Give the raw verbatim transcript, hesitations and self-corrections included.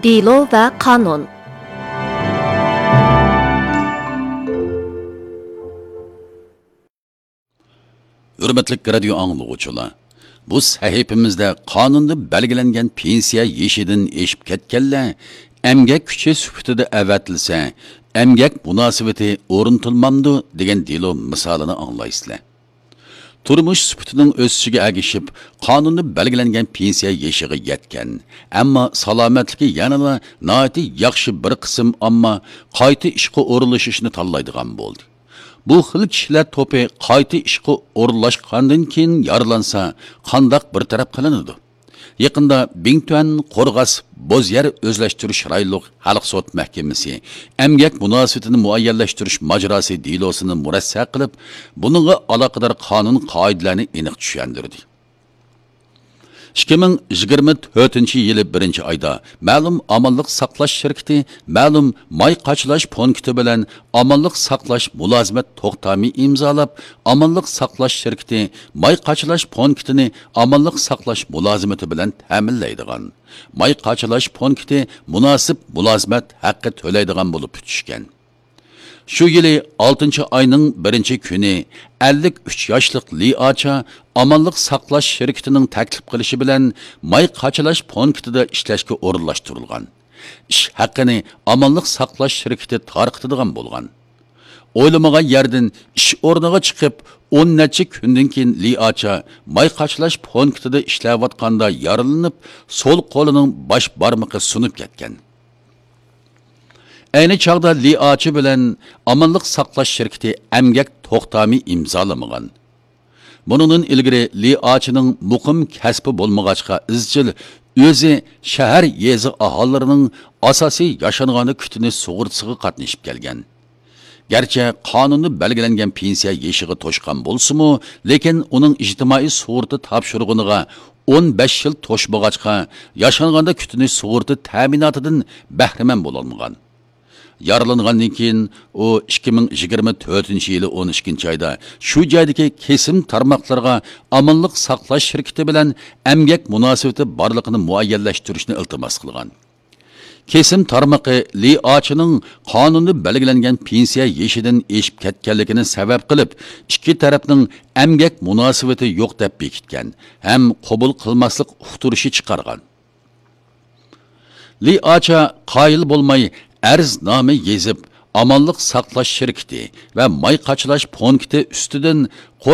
دېلو ۋە قانۇن. ھۆرمەتلىك رادىيو ئاڭلىغۇچىلار، بۇ سەھىپىمىزدە قانۇندا بەلگىلەنگەن پېنسىيە يېشىدىن ئېشىپ كەتكەنلەر ئەمگەك كۈچى سۈپىتىدە ئەۋەتىلسە، ئەمگەك مۇناسىۋىتى ئورنىتىلمامدۇ دېگەن دېلو مىسالىنى ئاڭلايسىلەر. تۇرمۇش سۈپىتىنىڭ ئۆسۈشىگە ئەگىشىپ، قانۇندا بەلگىلەنگەن پېنسىيە يېشىغا يەتكەن، ئەمما سالامەتلىكى يەنىلا ناھايىتى ياخشى بىر قىسىم ئامما قايتا ئىشقا ئورۇنلىشىشنى تاللايدىغان بولدى. بۇ خىل كىشىلەر توپى قايتا ئىشقا ئورۇنلاشقاندىن كېيىن يارىلانسا، قانداق بىر تەرەپ قىلىنىدۇ؟ يېقىندا بىڭتۈەن قورغاس بوز يەر ئۆزلەشتۈرۈش رايونلۇق خەلق سوت مەھكىمىسى ئەمگەك مۇناسىۋىتىنى مۇئەييەنلەشتۈرۈش ماجىراسى دېلوسىنى مۇرەسسە قىلىپ، بۇنىڭغا ئالاقىدار قانۇن قائىدىلەرنى ئېنىق چۈشەندۈردى. ئىككى مىڭ يىگىرمە تۆتىنچى يىلى بىرىنچى ئايدا مەلۇم ئامانلىق ساقلاش شىركىتى مەلۇم ماي قاچىلاش پونكىتى بىلەن ئامانلىق ساقلاش مۇلازىمەت توختامى ئىمزالاپ، ئامانلىق ساقلاش شىركىتى ماي قاچىلاش پونكىتىنى ئامانلىق ساقلاش مۇلازىمىتى بىلەن تەمىنلەيدىغان، ماي قاچىلاش پونكىتى مۇناسىپ مۇلازىمەت ھەققى تۆلەيدىغان بولۇپ پۈتۈشكەن. شۇ يىلى ئالتىنچى ئاينىڭ بىرىنچى كۈنى ئەللىك ئۈچ ياشلىق لى ئاچا ئامانلىق ساقلاش شىركىتىنىڭ تەكلىپ قىلىشى بىلەن ماي قاچىلاش پونكىتىدا ئىشلەشكە ئورۇنلاشتۇرۇلغان. ئىش ھەققىنى ئامانلىق ساقلاش شىركىتى تارقىتىدىغان بولغان. ئويلىمىغان يەردىن ئىش ئورنىغا چىقىپ، ئون نەچچە كۈندىن كېيىن لى ئاچا ماي قاچىلاش پونكىتىدا ئىشلەۋاتقاندا يارىلىنىپ، سول قولىنىڭ باش بارمىقى سۇنۇپ كەتكەن. ئەينى چاغدا لى ئاچا بىلەن ئامانلىق ساقلاش شىركىتى ئەمگەك توختامى ئىمزالىمىغان. بۇنىڭدىن ئىلگىرى لى ئاچىنىڭ مۇقىم كەسپى بولمىغاچقا، ئىزچىل ئۆزى شەھەر، يېزا ئاھالىلىرىنىڭ ئاساسىي ياشانغاندا كۈتۈنۈش سۇغۇرتىسىغا قاتنىشىپ كەلگەن. گەرچە قانۇندا بەلگىلەنگەن پېنسىيە يېشىغا توشقان بولسىمۇ، لېكىن ئۇنىڭ ئىجتىمائىي سۇغۇرتا تاپشۇرۇقىغا ئون بەش يىل توشمىغاچقا، ياشانغاندا كۈتۈنۈش سۇغۇرتا تەمىناتىدىن بەھرىمەن بولالمىغان. يارىلانغاندىن كېيىن ئۇ ئىككى مىڭ يىگىرمە تۆتىنچى يىلى ئون ئىككىنچى ئايدا شۇ جايدىكى كېسىم تارماقلىرىغا ئامانلىق ساقلاش شىركىتى بىلەن ئەمگەك مۇناسىۋىتى بارلىقىنى مۇئەييەنلەشتۈرۈشنى ئىلتىماس قىلغان. كېسىم تارمىقى لى ئاچىنىڭ قانۇندا بەلگىلەنگەن پېنسىيە يېشىدىن ئېشىپ كەتكەنلىكىنى سەۋەب قىلىپ، ئىككى تەرەپنىڭ ئەمگەك مۇناسىۋىتى يوق دەپ بېكىتكەن ھەم قوبۇل قىلماسلىق ئۇقتۇرۇشى چىقارغان. لى ئاچا قايىل بولماي ئەرزنامە يېزىپ، ئامانلىق ساقلاش شىركىتى ۋە ماي قاچىلاش پونكىتى ئۈستىدىن قورغاس